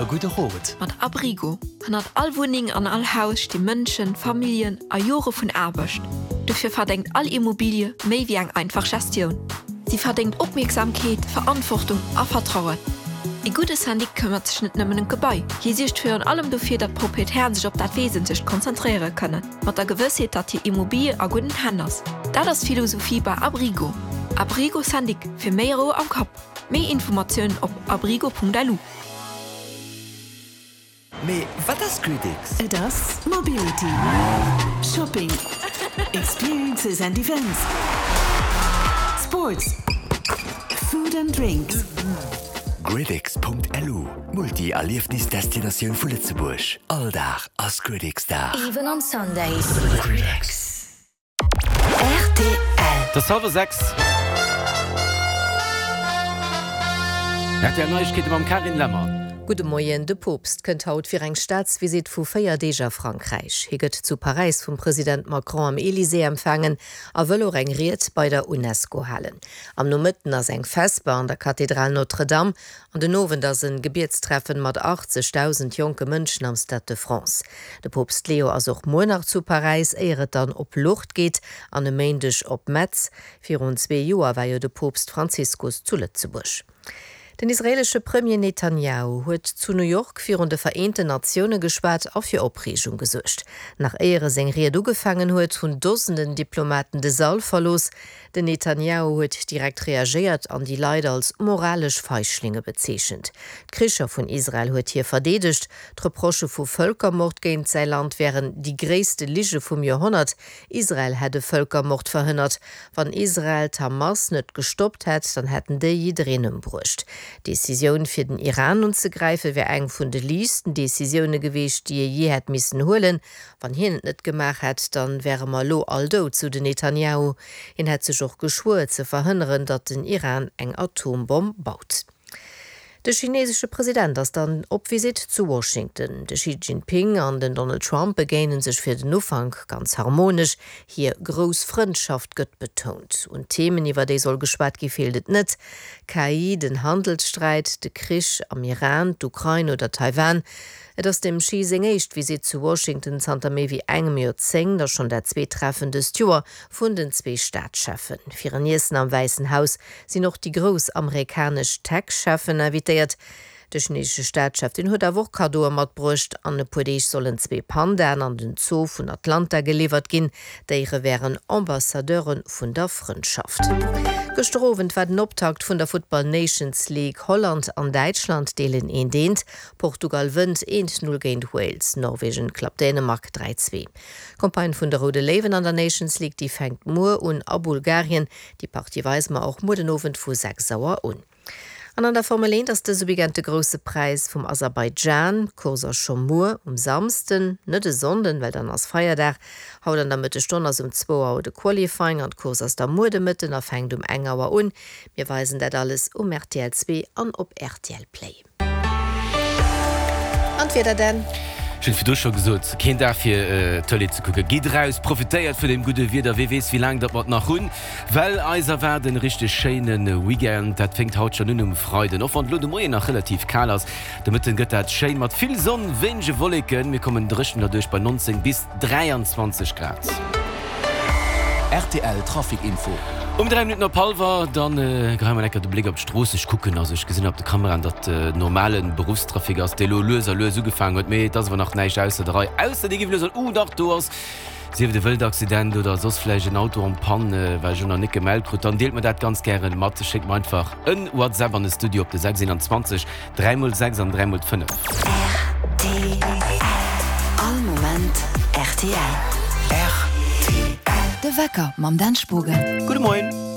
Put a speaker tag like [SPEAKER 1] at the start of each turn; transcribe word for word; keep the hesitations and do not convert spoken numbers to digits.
[SPEAKER 1] E gudde Rot.
[SPEAKER 2] Mat Abrigo. Hannert all Wunneng an all Haus sti Mënschen, Familljen a Jore vun Aarbecht. Dofir verdéngt all Immobilie méi wéi eng einfach Gestioun. Si verdéngt Opmierksamkeet, Verantwortung a Vertrauen. E gudde Syndic këmmert sech net nëmmen ëm d'Gebai. Hie suergt virun allem dofir, datt d'Proprietären sech op dat Wesentlecht konzentréiere kënnen, mat der Gewëssheet, datt hir Immobilie a gudden Hänn ass. Dat ass d'Philosophie bei Abrigo. Abrigo Syndic, fir méi Rou am Kapp. Méi Informatiounen op abrigo.lu.
[SPEAKER 1] Mee wat ass GridX?
[SPEAKER 3] Et ass Mobility, Shopping, Experiences and Events, Sports, Food and Drinks.
[SPEAKER 1] GridX.lu, Multi-Erliefnis-Destinatioun vu Lëtzebuerg. All Dag ass GridX-Dag.
[SPEAKER 4] Even on Sundays.
[SPEAKER 1] GridX.
[SPEAKER 4] Rtl.
[SPEAKER 5] Et ass hallwer sechs. R T L Neiegkeete mam Carine Lemmer.
[SPEAKER 6] Gudde Moien, De Poopst kënnt haut fir eng Staatsvisitt vu véier Deeg a Frankräich. Hie gëtt zu Paräis vum President Macron am Elysée empfaangen a wëll och eng Ried bei der Unesco halen. Am Nomëtten ass eng Vesper an der Kathedral Notre-Dame an den Owend ass en Gebietstreffen mat achtzegdausend jonke Mënschen am Stade de France. De Poopst Leo ass och muer nach zu Paräis, éier et dann op Lourdes geet an e Méindeg op Metz. Virun zwee Joer war jo de Poopst Franziskus zu Lëtzebuerg. Den israeelesche Premier Netanjahu huet zu New York virun de Vereenten Natioune geschwat a fir Opreegung gesuergt. Nach éier e seng Ried ugefaangen huet, hunn Dosenden Diplomaten de Sall verlooss. Den Netanjahu huet direkt reagéiert an déi Leit als moralesch Feichlinge bezeechent. D'Kricher vun Israel huet hie verdeedegt. D'Reprochë vu Vëlkermord géint säi Land wären déi gréisste Lige vum Joerhonnert. Israel hätt e Vëlkermord verhënnert. Wann Israel d'Hamas net gestoppt hätt, dann hätten déi jiddereen ëmbruecht. D'Decisioun fir den Iran unzegräife wär eng vun de liichtsten Decisioune gewiescht, déi ee jee hätt missen huelen. Wann hien et net gemaach hätt, dann wäre mer elo all dout, sou den Netanjahu. Hien hätt sech och geschwuer ze verhënneren, datt den Iran eng Atombomm baut. De chinesesche President ass dann op Visitt zu Washington. De Xi Jinping an den Donald Trump begéine sech fir den Ufank ganz harmonesch. Hir grouss Frëndschaft gëtt betount. Un Themen, iwwer déi soll geschwat gi feelt et net, K I, den Handelssträit, de Krich am Iran, d'Ukrain oder Taiwan. Et ass dem Xi seng éischt Visitt zu Washington zanter méi wéi engem Joerzéngt a schonn dat zweet Treffen dëst Joer vun den zwee Staatscheffen. Fir en Iessen am Wäissen Haus sinn och déi grouss amerikanesch Tech-Cheffen invitéiert. De chinesesche Staatschef, deen huet awer och Kaddoe matbruecht. An e puer Deeg sollen zwee Pandaen an den Zoo vun Atlanta geliwwert ginn. D'Déiere wären Ambassadeure vun der Frëndschaft. Gëschter Owend war den Optakt vun der Futtball Nations League. Holland an Däitschland deelen eent eent. Portugal wënnt eent null géint Wales. Norwegen klappt Dänemark dräi zwee. D'Campagne vun de Roude Léiwen an der Nations League, déi fänkt muer un a Bulgarien. Déi Partie weise mer och muer den Owend vu sechs Auer un. An an der Formel eent ass dëse Weekend de Grousse Präis vum Aserbaidschan. D'Course ass scho muer um Samsden, net e Sonnden, well dann ass Feierdag. Haut an der Mëttesstonn ass um zwou Auer de Qualifying an d'Course ass da muer de Mëtten a fänkt um eng Auer un. Mir weisen dat alles um R T L zwee an op R T L Play. An d'Wieder dann.
[SPEAKER 5] Ech hunn et virdru scho gesot, keen Dag fir Tëlee ze kucken. Gitt eraus, profitéiert vun deem gudde Wieder, wee weess wéi laang datt mer et nach hunn. Well eis erwaart en richteg schéine Weekend. Dat fänkt haut schonn un um Freiden, och wann et elo de Moien nach relativ kal ass. De Mëtten gëtt dat schéin mat vill Sonn, wéinege Wolleken. Mir kommen dréchen derduerch bei neunzéng bis dräianzwanzeg Grad.
[SPEAKER 1] R T L Trafic Info.
[SPEAKER 5] Um dräi Minutten op hallwer, dann geheie mer enker de Bléck op d'Strooss. Ech kucken, also ech gesinn op de Kameraen, datt normale Beruffstrafic ass, dee lo lues a lues ugefaangen huet, mee et ass awer nach näischt ausser der Rei, ausser dir giff elo soen, Uh dach, do ass sief et e Wëldaccident oder soss vläicht en Auto en panne, wat ech elo nach net gemellt krut, dann deelt mer dat ganz gären mat. Schéckt mer einfach en WhatsApp an de Studio op de sechs eenanzwanzeg dräi mol sechs an dräi mol fënnef.
[SPEAKER 4] R T L. All Moment R T L.
[SPEAKER 1] R T L.
[SPEAKER 4] De Wecker mam Dan Spogen.
[SPEAKER 5] Gudde Moien.